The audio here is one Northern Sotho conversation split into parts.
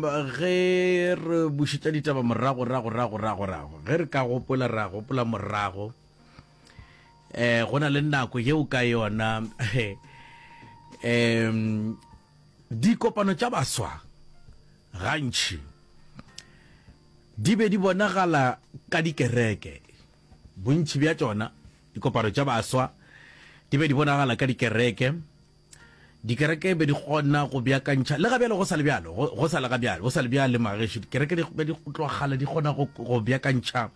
Ge re bušetša ditaba morago, rago, rago, rago, rago, ge re ka gopola, ra gopola morago, eh, go na le nako yeo ka yona um dikopano tša baswa gantši di be di bonagala ka dikereke. Bontši bja tšona dikopano tša baswa di be di bonagala ka dikereke. Dikereke be di kgona go beakantšha, le ga bjale go sa le bjalo, go, go sa le ga bjale, go sa le bjale magešo, dikereke di be di tloga kgale di kgona go, go beakantšha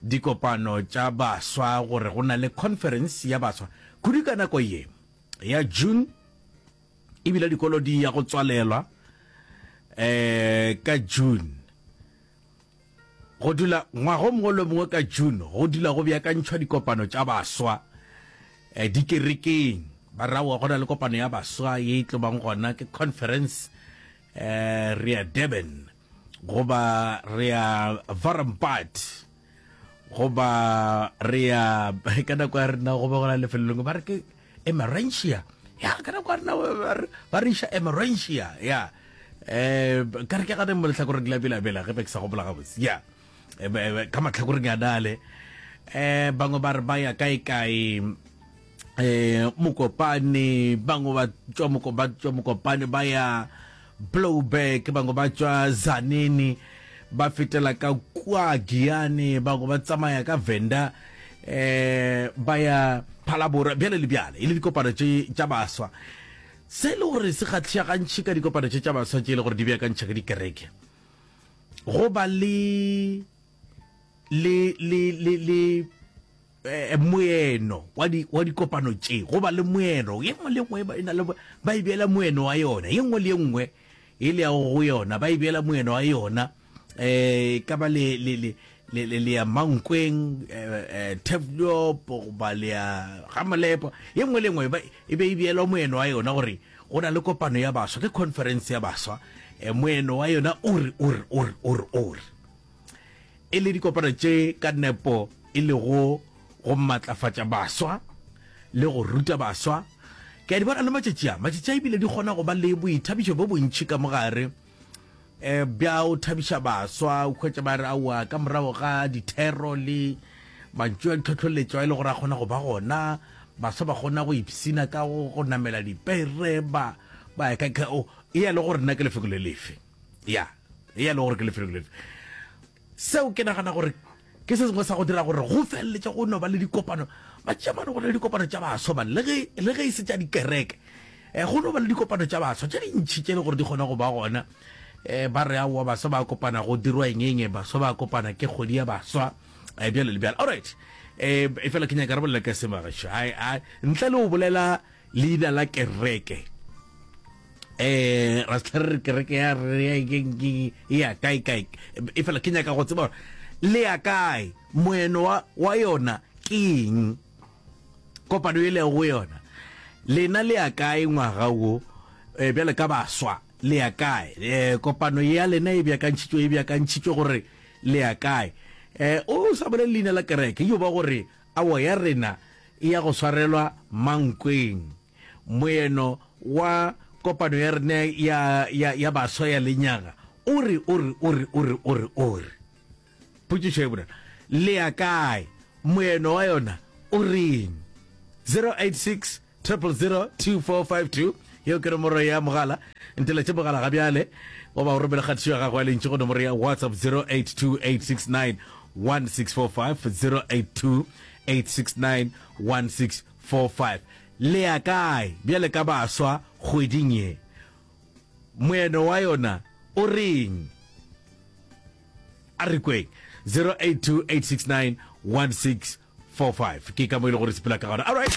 dikopano tša baswa gore go na le conference ya baswa. Kudu ka nako ye ya June, ebile dikolo di ya go tswalelwa eh ka June. Go dula ngwaga o mongwe le o mongwe ka June go dula go beakantšhwa dikopano tša baswa eh, dikerekeng. Ba re aowa go na le kopano ya baswa ye e tlo bang gona ke conference eh, re ya Durban goba re ya Varambad goba re ya ka nako ya rena go be go na lefelo lengwe ba re ke Emerentia ya ka nako ya rena ba re iša Emerentia ya eh ka re ke gane mo lehlakoreng la Bela-Bela ge be ke sa gopola gabotse ya eh, eh, ka mahlakoreng a nale eh bangwe ba re ba ya kae kae eh Mokopane bangwe ba tšwa moko ba tšwa Mokopane ba ya Blouberg bangwe ba tšwa Zanini ba fetela ka kua Giyani bangwe ba tsamaya ka Venda eh ba ya Phalaborwa bjale le bjale e le dikopano tše tša baswa Se e le gore se kgahliša gantši ka dikopano tše tša baswa tše e le gore di beakantšha ka dikereke, go ba le le le le le eh, moeno wa di wa dikopano tše, go ba le moeno ye nngwe le nngwe e na le ba e beela moeno wa yona, ye nngwe le ye nngwe e le ya go yona ba e beela moeno wa yona eh ka ba le le le le le le ya Mankweng eh, eh Turfloop goba le ya Gamolepo ye nngwe le nngwe ba e be e beelwa moeno wa yona gore go na le kopano ya baswa ke conference ya baswa eh, moeno wa yona o re o re o re o re o re e le dikopano tše ka nepo e lego go matlafatša baswa le go ruta baswa ke a di bona le matšatši a matšatši a ebile di kgona go ba le boithabišo bo bontši ka mogare eh, bja o thabiša baswa o hwetša ba re aowa ka morago ga dithero le mantšu a ditlhohloletšo a e le gore a kgona go ba gona baswa ba kgona go ipsina ka go go namela dipere ba ba ya ka o e ya le gore nna ke lefelo le lefe ya e ya le gore ke lefelo le lefe seo ke nagana gore Ke se sengwe sa go dira gore go feleletše go no ba le dikopano. Ba tšea mane go na le dikopano tša baswa man, le ge, le ge e se tša dikereke. Eh, go no ba le dikopano tša baswa tše dintši tše e le gore di kgona go ba gona. Eh, ba re aowa baswa ba kopana go dirwa eng eng, baswa ba kopana ke kgwedi ya baswa, eh, bjalo le bjalo. Alright, eh, efela ke nyaka re bolela ka se magašo. Ai, ai, ntle le go bolela leina la kereke eh ra se re kereke ya re e ya kae kae e fela ke nyaka go tseba gore le ya kae moeno wa wa yona ke eng kopano e lego go yona lena le ya kae ngwaga wo eh, bjale ka baswa le ya kae eh, kopano ya lena e beakantšhitšwe e beakantšhitšwe gore le ya kae eh, o sa bolele leina la kereke yo ba gore awa ya rena e ya go swarelwa Mankweng. Moeno wa kopano ya rena ya, ya, ya baswa ya lenyaga o re, o re, o re, o re, o re, o re. Potšišo e bonolo, le ya kae? Moeno wa yona o reng? 086 000 2452 yeo ke nomoro ya mogala. Nteletše mogala ga bjale goba o romele kgatišo ya gago ya lentšu go nomoro ya WhatsApp 082 869 1645 082 8691645 Le ya kae bjale ka baswa kgweding ye? Moeno wa yona o reng? A re kweng. 0828691645 ke ka mo e le gore sepela ka gona. All right.